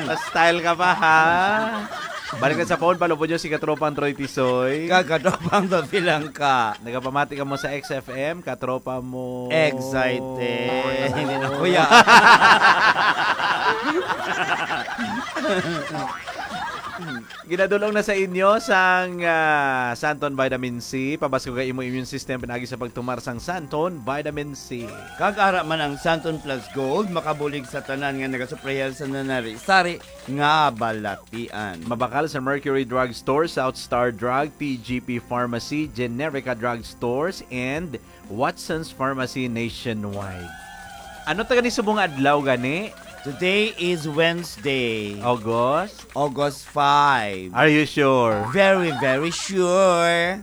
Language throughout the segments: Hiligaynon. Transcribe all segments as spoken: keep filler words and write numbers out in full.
Pa-style ka pa, ha? Balik na sa phone, palubon nyo si Katropang Troy Tisoy. Kag Katropang Dapilang ka. Nagapamati ka mo sa X F M, katropa mo. Excited. Hindi na, kuya. Ginadulong na sa inyo sang, ah, Santon Vitamin C. Pabaskog ang imo immune system pinaagi sa pagtumar sang Santon Vitamin C. Kag ara man ang Santon Plus Gold, makabulig sa tanan nga nagasuprayar sa nanari-sari nga balatian. Mabakal sa Mercury Drug Store, South Star Drug, T G P Pharmacy, Generica Drug Stores, and Watson's Pharmacy nationwide. Ano ta gani subong nga adlaw gani? Today is Wednesday. August? August five. Are you sure? Very, very sure.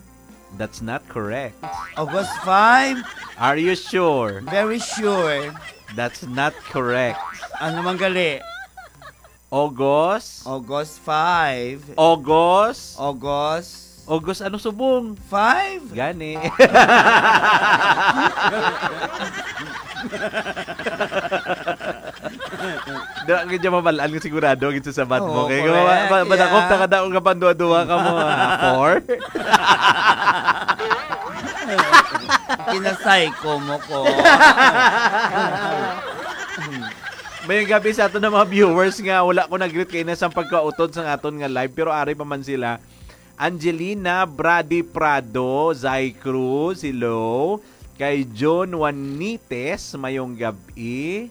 That's not correct. August five? Are you sure? Very sure. That's not correct. Ano man gali? August? August five. August? August? August, ano subong? Five? Gani. Dira ka dyan mabal-an nga sigurado gid sa sabat mo. Oo, kay correct, ma-, ma-, madakop yeah. Ta ka daw nga panduwa-duwa ka mo, ha? Four? Kinasay ko mo ko. Mayong gabi sa aton na mga viewers nga wala ko nag-greet kay na sa pagkautod sa aton nga live, pero ari pa man sila. Angelina Brady Prado, Zay Cruz, hello. Kay John Juanites, mayong gabi.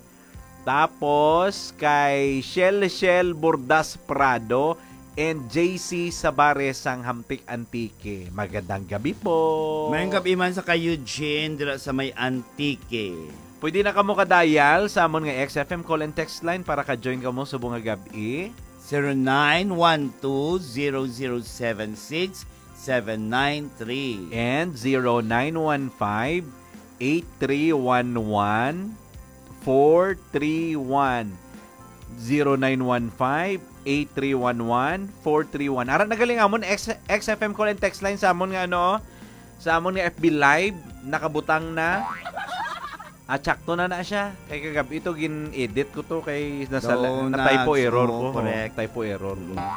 Tapos kay Shell Shell Bordas Prado and J C Sabares sang Hamtic, Antique. Magandang gabi po. Mayong gabi man sa kay Eugene dira sa may Antique. Pwede na kamo ka-dial sa amon nga X F M call and text line para ka-join kamo subong nga gab-i. Zero nine one two zero zero seven six seven nine three. And zero nine one five, eight three one one, four three one. Zero nine one five, eight three one one, four three one. Ara na gali ang amon X-, X F M call and text line sa amon nga ano, sa amon nga F B Live, nakabutang na. Ah, tsakto na na siya. Kay kagab-i to, gin-edit ko to kay nasala, Daw na-typo nas-, error oo, ko. Correct. Typo error ko. Mm.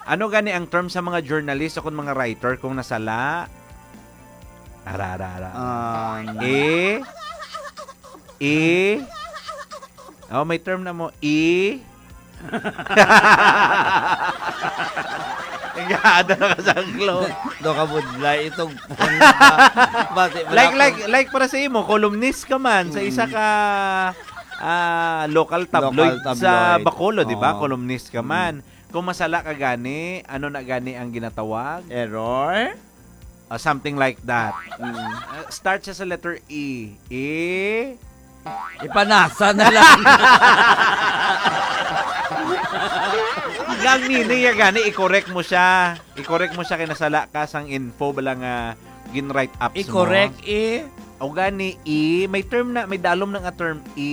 Ano gani ang term sa mga journalist o kung mga writer kung nasala? Ara, ara, ara. Um, E? E? Oh, may term na mo. E? Nag-aada na ka sa anglo. Do ka budlay itong phone na ba? Bati mo Like, na like, ako. Like para sa imo, columnist ka man sa isa Mm. ka, ah, local tabloid Local sa tabloid. Bacolod, di ba? Oo. Columnist ka Mm. man. Kung masala ka gani, ano na gani ang ginatawag? Error? Ah, something like that. Mm. Ah, start siya sa letter E. E? Ipanasa na lang. Ang meaning niya gani, i-correct mo siya. I-correct mo siya kay nasala ka sang info bala nga gin-write up mo. I-correct, E? O gani, E, may term na, may dalom na nga term, E.